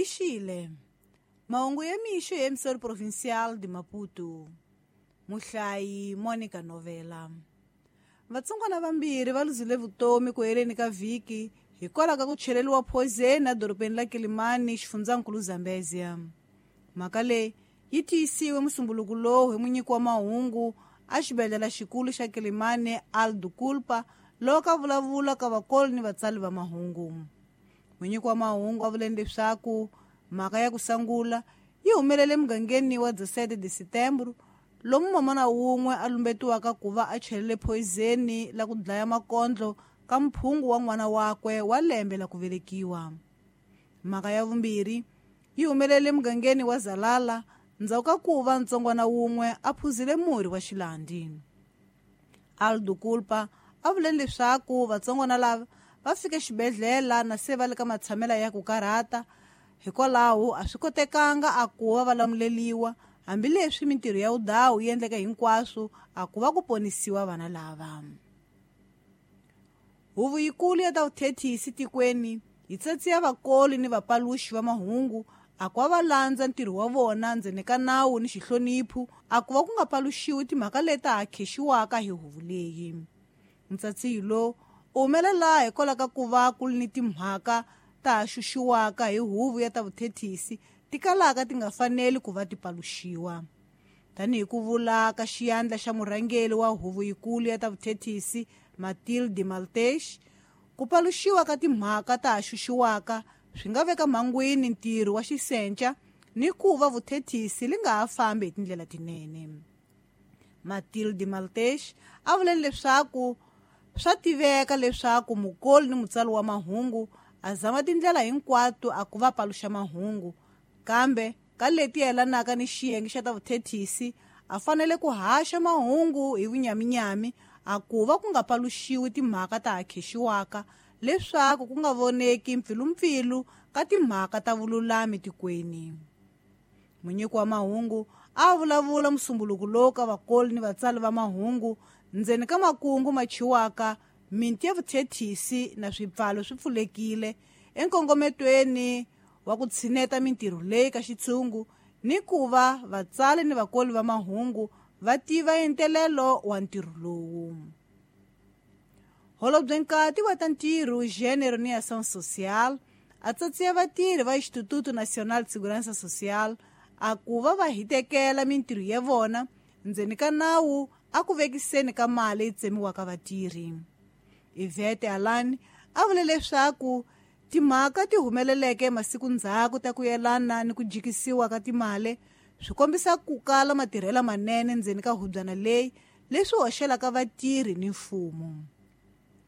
Lixile mahungu ya mixo ya emissora provincial de Maputo. Muhlayi Monica Novela. Vatsongwana vambirhi va luzile vutomi ku heleni ka vhiki hikwalaho ka ku cheleriwa poison edorobeni la Kilimani, xifundzankulu Zambezia. Mhaka leyi yi tiyisiwe musumbuluku lowu hi munyiki wa mahungu a xibedhlele xikulu xa Kilimani, Aldo Kulpa, loko a vulavula ka vakoli ni vatsali va mahungu. Munyiki wa mahungu a vuleni leswaku mhaka ya ku sangula yi humelele mugangeni wa 17 de Setembro, lomu mamana wun'we a lumbetiwaka ku va a chelele poison la ku dlaya makondlo ka mphungu wa n'wana wakwe wa lembe la ku velekiwa. Mhaka ya vumbirhi yi humelele mugangeni wa Zalala ndzhaku ka ku va ntsongwana wun'we a phuzile murhi wa xilandi. Aldo Kulpa a vule leswaku vatsongwana lava va fike xibedhlele na se va le ka matshamela ya ku karhata, hikwalaho a swi kotekanga a ku va va lamuleliwa, hambileswi mintirho ya vudawu yi endleke hinkwaswo a ku va ku ponisiwa vana lava. Huvo yikulu ya ta vuthethisi tikweni yi tsatsiya vakoli ni vapaluxi va mahungu a ku va va landza ntirho wa vona ndzeni ka nawu ni xihloniphu, a ku va ku nga paluxiwi timhaka leti ha khexiwaka hi huvo leyi. Ntsatsiyo lowu u humelela hikwalaho ka ku va ku ri ni timhaka ta ha xuxiwaka hi huvo ya ta vuthethisi ti kalaka ti nga faneli ku va ti paluxiwa. Tanihi ku vula ka xiyandla xa murhangeri wa huvo yikulu ya ta vuthethisi Matilde Maltesh, ku paluxiwa ka timhaka ta ha xuxiwaka swi nga veka mhangwini ntirho wa xisenca ni ku va vuthethisi li nga ha fambi hi tindlela tinene. Matilde Maltesh a vule leswaku swa tiveka leswaku mukoli ni mutsali wa mahungu a zama tindlela hinkwato a ku va paluxa mahungu, kambe ka leti yelanaka ni xiyenge xa ta vuthethisi a fanele ku haxa mahungu hi vunyaminyami a ku va ku nga paluxiwi timhaka ta ha khexiwaka leswaku ku nga voneki mpfilumpfilu ka timhaka ta vululami tikweni. Munyiki wa mahungu a vulavula musumbuluku lowu ka vakoli ni vatsali va mahungu ndzeni ka makungu ma chiwaka minti ya vuthethisi na swipfalo swi pfulekile enkongometweni wa ku tshineta mintirho leyi ka xitshungu ni ku va vatsali ni vakoli va mahungu va tiva entelelo wa ntirho lowu. Holobye Nkati wa ta ntirho, Gênero ni Ação Social a tsatsiya vatirhi va Instituto Nacional de Segurança Social a ku va va hitekela mintirho ya vona ndzeni ka nawu a ku vekiseni ka mali yi tsemiwaka vatirhi. Ivete Alani a vule leswaku timhaka ti humeleleke masiku ndzhaku ta ku yelana ni ku jikisiwa ka timali swi kombisa ku kala matirhelo manene ndzeni ka hubyana leyi leswi hoxelaka vatirhi ni mfumo.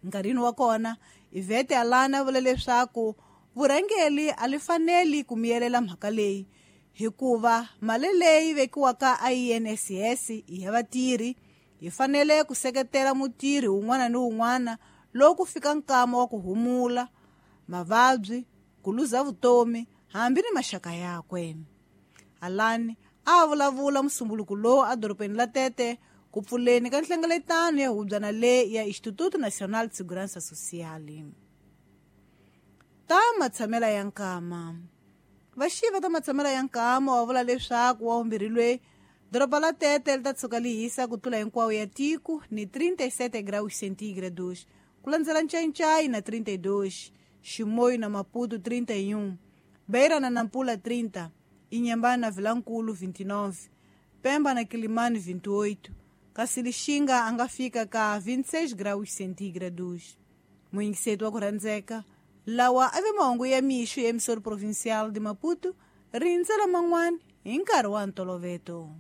Nkarhini wa kona Ivete Alani a vule leswaku vurhangeri a li faneli ku miyelela mhaka leyi hikuva mali leyi vekiwaka a INSS i ya vatirhi, yi fanele ku seketela mutirhi wun'wana ni wun'wana loko ku fika nkama wa ku humula, mavabyi, ku luza vutomi hambi ni maxaka yakwe. Alani a vulavula musumbuluku lowu edorobeni la Tete ku pfuleni ka nhlengeletano ya hubyana leyi ya Instituto Nacional de Segurança Social. Ta matshamela ya nkama. Vaxiva ta matshamela ya nkama wa vula leswaku wa vumbirhi lweyi doroba la Tete li ta tshuka li hisa ku tlula hinkwawo ya tiko ni 37 graus centígrados, ku landzela Ncancai na 32, Chimoio na Maputo 31, Beira na Nampula 30, Inhambane na Vilankulu 29, Pemba na Quilimane 28, kasi Lixinga a nga fika ka 26 graus centígrados. Muyingiseti wa ku rhandzeka, lawa a ve mahungu ya mixo ya emissora provincial de Maputo, rindzela man'wana hi nkarhi wa ntoloveto.